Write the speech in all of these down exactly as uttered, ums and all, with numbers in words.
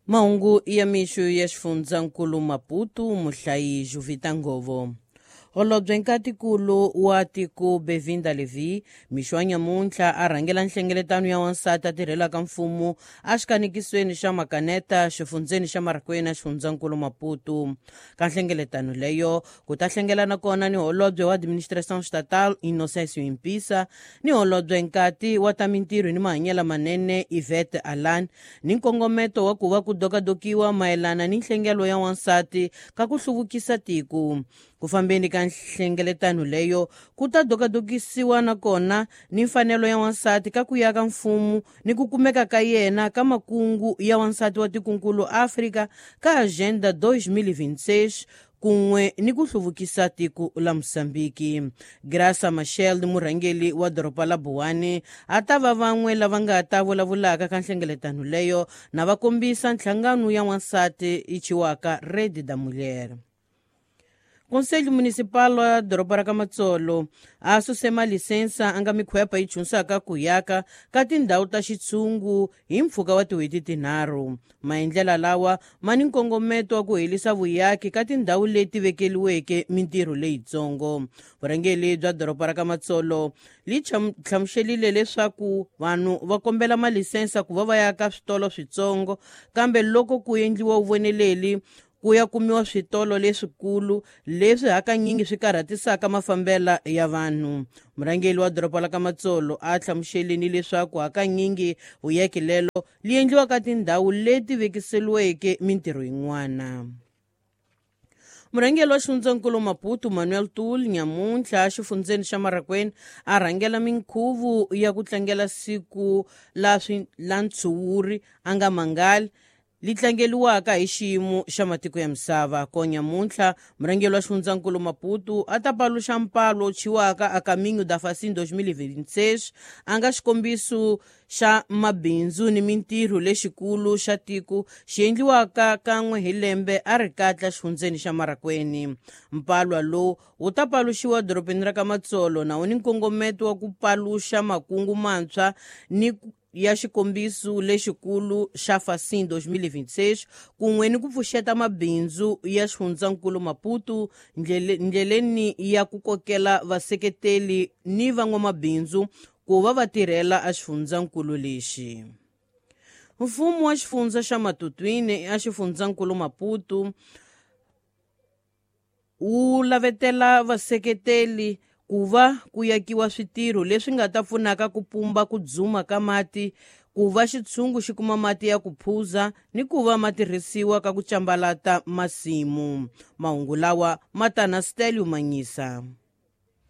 Mahungu ya mixo ya xifundzankulu Maputo, muhlayi Juvita Ngovo. Holobye nkatikulu wa tiko Bevinda Levi mixo wa nyamuntlha a rhangela nhlengeletano ya wansati a tirhelaka mfumo a xikanikisweni xa Makaneta xifundzeni xa Marikweni xifundzankulu Maputo. Ka nhlengeletano leyo ku ta hlengelana kona ni holobye wa Administração Estatal Inocêncio Impissa ni holobye nkati wa ta mintirho ni mahanyelo manene Yvette Alan ni nkongometo wa ku va ku dokadokiwa mayelana ni nhlengelo ya wansati ka ku hluvukisa tiko. Ku fambeni ka nhlengeletano leyo ku ta dokadokisiwa nakona ni mfanelo ya wansati ka ku ya ka mfumo ni ku kumeka ka yena ka makungu ya wansati wa tikunkulu Afrika ka Agenda dois mil e vinte e seis kun'we ni ku hluvukisa tiko la Mozambiki. Graça Machel ni murhangeri wa doroba la Buwani a ta va van'we lava nga ta vulavulaka ka nhlengeletano leyo na va kombisa nhlangano ya wansati yi chiwaka Rede da Mulher. Conselho Municipal wa doroba ra ka Matsolo a susema lisensa a nga mikhwepa yi chunsaka ku yaka ka tindhawu ta xitshungu hi mpfhuka wa tin'hweti tinharhu. Maendlela lawa ma ni nkongometo wa ku herisa vuyaki ka tindhawu leti vekeliweke mintirho leyitsongo. Vurhangeri bya doroba ra ka Matsolo li hlamuserile leswaku vanhu va kombela malisensa ku va va yaka switolo switsongo, kambe loko ku endliwa vuvoneleli ku ya kumiwa switolo leswikulu leswi hakanyingi swi karhatisaka mafambela ya vanhu. Murhangeri wa doroba la ka Matsolo a hlamuseleni leswaku hakanyingi vuyaki lelo li endliwa ka tindhawu leti vekiseliweke mintirho yin'wana. Murhangeri wa xifundzankulu Maputo Manuel Tul nyamuntlha xifundzeni xa Marikweni a rhangela minkhuvo ya ku tlangela siku la la ntshuri a nga mangali li tlangeliwaka hi xiyimo xa matiko ya misava. Ko nyamuntlha murhangeri wa xifundzankulu Maputo a ta paluxa mpalo chiwaka a Caminho da Facim dois mil e vinte e seis a nga xikombiso xa mabindzu ni mintirho lexikulu xa tiko xi endliwaka kan'we hi lembe a ri katla xifundzeni xa Marikweni. Mpalwa lowu wu ta paluxiwa dorobeni ra ka Matsolo na wu ni nkongometo wa ku paluxa makungu mantshwa ni ya xikombiso lexikulu xa Facim dois mil e vinte e seis kun'we ni ku pfuxeta mabindzu ya xifundzankulu Maputo ndleleni ya ku kokela vaseketeli ni van'wamabindzu ku va va tirhela a xifundzankulu lexi. Mfumo wa xifundza xa Matutwini a xifundzankulu Maputo wu lavetela vaseketeli ku va ku yakiwa switirho leswi nga ta pfunaka ku pumba ku dzuma ka mati, ku va xitshungu xi kuma mati ya ku phuza ni ku va ma tirhisiwa ka ku cambalata masimu. Mahungu lawa ma ta na Stelio Manyisa.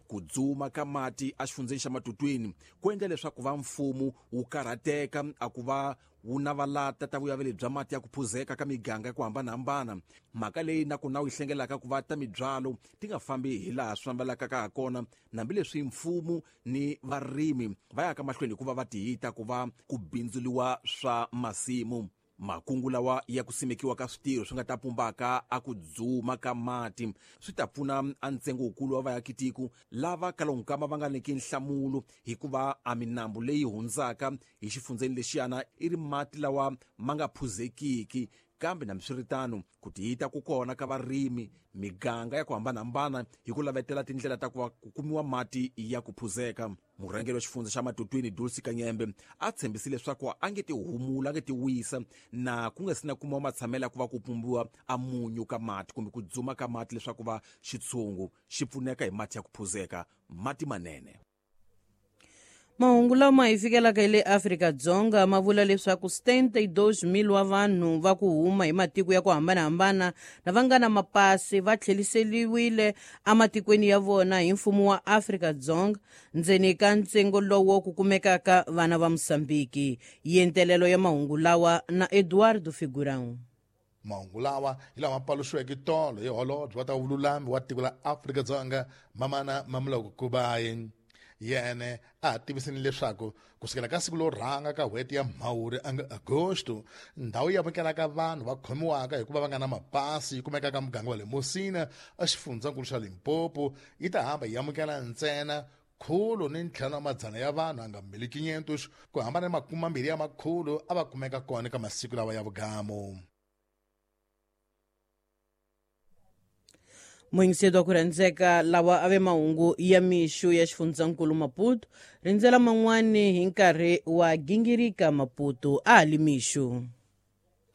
Ku dzuma ka mati exifundzeni xa Matutwini ku endla leswaku va mfumo wu karhateka a ku va wu navalata ta vuyaveli bya mati ya ku phuzeka ka miganga ya ku hambanahambana. Mhaka leyi na ku na wu yi hlengelaka ku va ta mibyalo ti nga fambi hi laha swi fambelaka ka ha kona, hambileswi mfumo ni varimi va yaka mahlweni hikuva va tihita ku va ku bindzuliwa swa masimu. Makungu lawa ya ku simekiwa ka switirho swi nga ta pumbaka a ku dzuma ka mati swi ta pfuna a ntsengo wukulu wa vaakitiko lava ka lonkama va nga nyiki nhlamulo hikuva a minambu leyi hundzaka hi xifundzeni lexiyana i ri mati lawa ma nga phuzekiki. Kambe nambiswiritano ku tiyita ku kona ka varimi miganga ya ku hambanahambana hi ku lavetela tindlela ta ku va ku kumiwa mati ya ku phuzeka. Murhangeri wa xifundza xa Matutwini Dulce Kanyembe a tshembisile leswaku a nge ti humula a nge ti wisa na ku nga si na kumiwa matshamelo ya ku va ku pumbiwa a munyu ka mati kumbe ku dzuma ka mati leswaku va xitshungu xi pfuneka hi mati ya ku phuzeka, mati manene. Mahungu lama hi fikelaka hi le Afrika-Dzonga ma vula leswaku setenta e dois mil wa vanhu va ku huma hi matiko ya ku hambanahambana lava nga na mapasi va tlheliseriwile ematikweni ya vona hi mfumo wa Afrika-Dzonga ndzeni ka ntsengo lowo ku kumekaka vana va Mozambiki. Yentelelo ya mahungu lawa na Eduardo Figurão. Mahungu lawa hi lama paluxiweke tolo hi holobye wa ta vululami wa tiko la Afrika-Dzonga Mamana Mamoloko Kubayi. Yene a tivisini leswaku kusukela ka siku lo rhanga ka n'hweti ya Mhawuri anga Agosto ndhawu yi amukelaka vanhu va khomiwaka hikuva va nga na mapasi yi kumekaka ka muganga wa le Musina exifundzankulu xa Limpopo yi ta hamba yi amukela ntsena Khulu ni ntlhanu wa madzana ya vanhu a nga mbili quinhentos ku hambana ni makume mambirhi ya makhulu a va kumeka kona eka masiku lawa ya vugamu. Muyingiseti wa ku rhandzeka, lawa a ve mahungu ya mixo ya xifundzankulu Maputo. Rindzela man'wani hi nkarhi wa gingirika Maputo a ha li mixo.